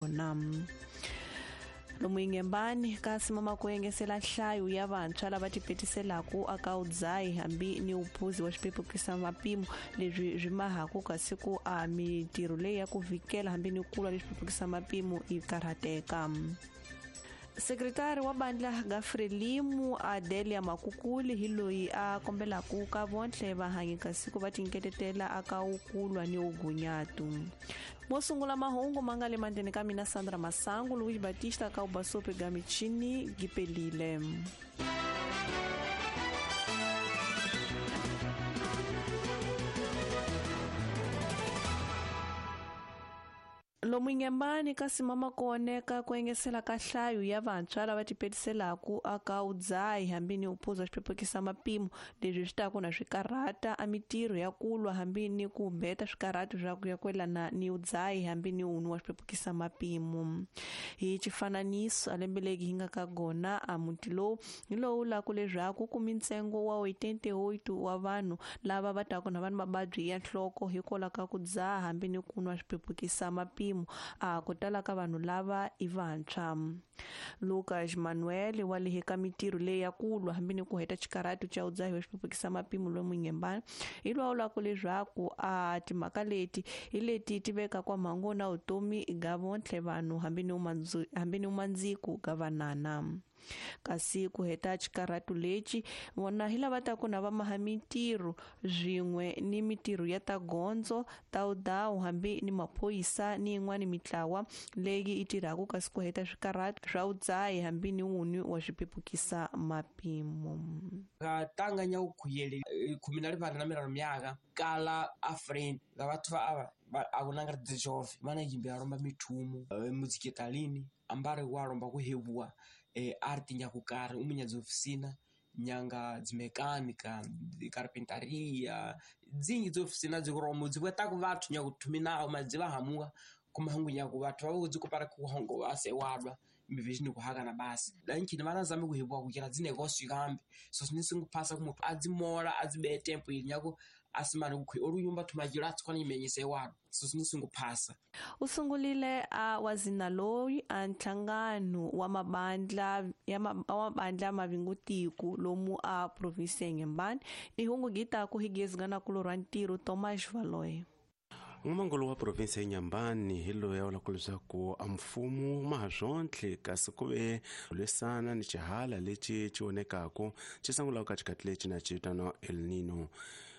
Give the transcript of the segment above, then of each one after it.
Kona lomu Inhambane kasi mama ku engesela nhlayo ya vantshwa lava tipetiselaka aka udzayi hambi ni uphuzi wa xipepukisa mapimo leswi swi mahaku kasi ku a mitirho leyi ya ku vikela hambi ni kulwa leswi pepukisa mapimo yi karhateka. Sekretari wa bandla Gafrelimu Adelia Makukuli hi loyi a kombelaka ka vontlhe vahanyi kasi ku va tinketetela aka ukulwa ni ugunyatu. Mo sungula mahungu ma nga le mandleni ka mina Sandra Masangu, Luiz Batista ka ubasope ga michini gipelile. Lomu Inhambane kasi mama kuoneka ku engesela ka nhlayo ya vantshwa lava tipetiselaka aka udzayi hambi ni uphuza xipepukisa mapimo leswi swi taku na swikarhata a mitirho ya kulwa hambi ni ku beta swikarhati swa ku ya kwelana ni udzayi hambi ni unwa wa xipepukisa mapimo. Hi xifananiso a lembe legi hi nga ka gona a muti lowu hi lowu laku leswaku ku mintsengo wa 88 wa vanhu lava va taku na vanhu mavabyi ya nhloko hikwalaho ka ku dzaha hambi ni ku nwa xipepukisa mapimo a ku tala ka vanhu lava i vantshwa. Lucas Manuel wa le ka mitirho leyi ya kulwa hambi ni ku heta xikarhati xa udzahi wa xipepukisa mapimo lomu Inhambane hi lawulaka leswaku a timhaka leti hi leti ti veka kwa mhangu na vutomi ga vontlhe vanhu hambi ni umandziku ga vanana. Kasi ku heta xikarhati lexi vona hi lava ta ku na va maha mitirho swin'we ni mitirho ya ta gondzo ta udawu hambi ni maphorisa ni yin'wana mitlawa leyi yi tirhaka kasi ku heta swikarhati swa udzayi hambi ni wun'we wa swipepukisa mapimo. Ga tanganya u khuyele 23 myaka kala afraid ga batho ba ava a vona nga ri jove vana yimbe a lomba mithumu muziketalini ambare wa lomba ku hebuwa art nyakukari umunyadzi ofisina nyanga dzimekanika carpentaria dzingi dzofisina dziromo dziveta ku vathu nyakuthumina madziva hamuka kumahangu nyaku vathu va dzikopara kuhongo vasewadwa mivhizhini kuhakana basi danchini vanazame kuhebuwa kukira dzinegoswi kambe so sinisinguphasa kumuthu adzimola adzibe tempo ili nyaku asimane kukhi olunyumba thumajiro atsikwana imenyise wadwa so sinisinguphasa. U sungulile a wazina loyi a nhlangano wa mabandla ya mabandla mavingutiku lomu a province ya Inhambane ihungu gita ku higezgana kulorwa ntirho Thomas Valoy. N'wamangolo wa province ya Inhambane hi loyi a vulaka leswaku a mfumo ma ha swontlhe kasi ku ve lwisana ni xihala lexi xi vonekaku xi sungulaka ka xikati lexi na xi vitaniwa El Nino.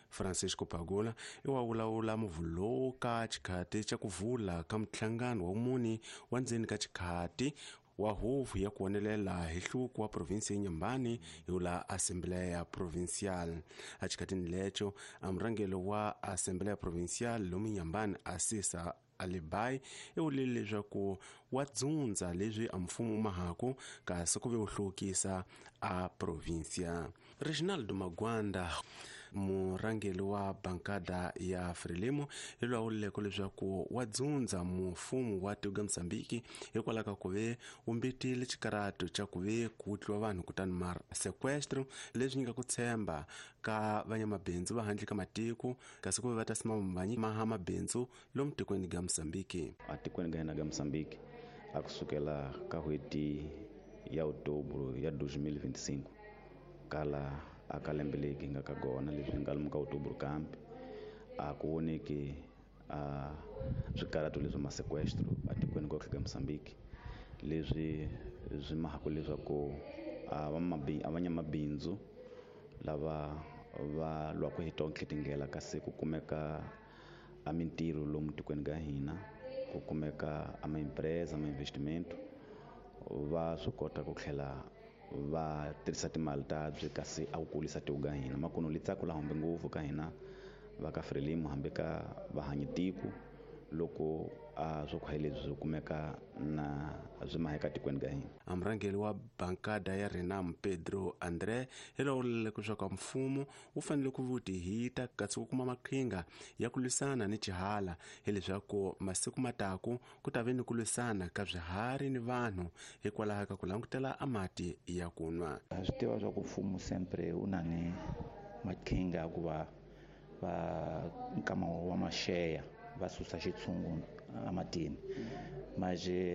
Francisco Pagula i wa vulavula muvhulo ka xikhati xa ku vula ka nhlangano wa muni wa ndzeni ka xikhati wa huvo ya ku vonelela hi hluku wa provinsi ya Inhambane hi wula Assembleia Provincial. Exikhatini lexo a murhangeri wa Assembleia Provincial lomu Inhambane Asisa Alibai i vulile leswaku wa dzundza leswi a mfumo mahaku kasi ku ve wu hluvukisa a provincia. Reginaldo Magwanda murhangeri wa bankada ya Frelimo hi loyi a vuleke leswaku wa dzundza mfumo wa tiko ra Mozambique hikwalaho ka ku ve wu mbitile xikarhato xa ku ve ku tliwa vanhu kutani ma sequestro leswi nyika ku tshemba ka vanyamabindzu va handle ka matiko kasi ku ve va ta sima vanyi maha mabindzu lomu tikweni ga Mozambique. A tikweni ga hina ga Mozambique a kusukela ka n'hweti ya Outubro ya 2025 kala aka lembe legi nga ka gona leswi nga lomu ka Outubro kambe a ku voneki a swikarhato leswi ma sequestro atikweni kotlhe ka Mozambique leswi swi mahaku leswaku a vanyamabindzu lava va lwaka hi tonke tindlela kasi ku kumeka a mintirho lomu tikweni ka hina ku kumeka a ma-empresa ma-investimento va swi kota ku tlhela va tirhisa timali ta byi kasi a ku kulisa tiko ka hina makuno li tsako la hambi ngopfu ka hina va ka Frelimo hambi ka vahanyi tiko loko a swo khwaye leswi swi kumeka na swi maheka tikweni ka hina. A murhangeri wa bankada ya Renam Pedro André hi lowu vuleke leswaku mfumo wu fanele ku vutihita kasi ku kuma maqhinga ya ku lwisana ni xihala hileswaku masiku mataku ku ta ve ni ku lwisana ka swiharhi ni vanhu hikwalaho ka ku langutela a mati ya ku nwa. Ha swi tiva swa ku mfumo sempre wu na ni maqhinga ya ku va va nkama wa maxeya va susa xitshungu ematini. Manje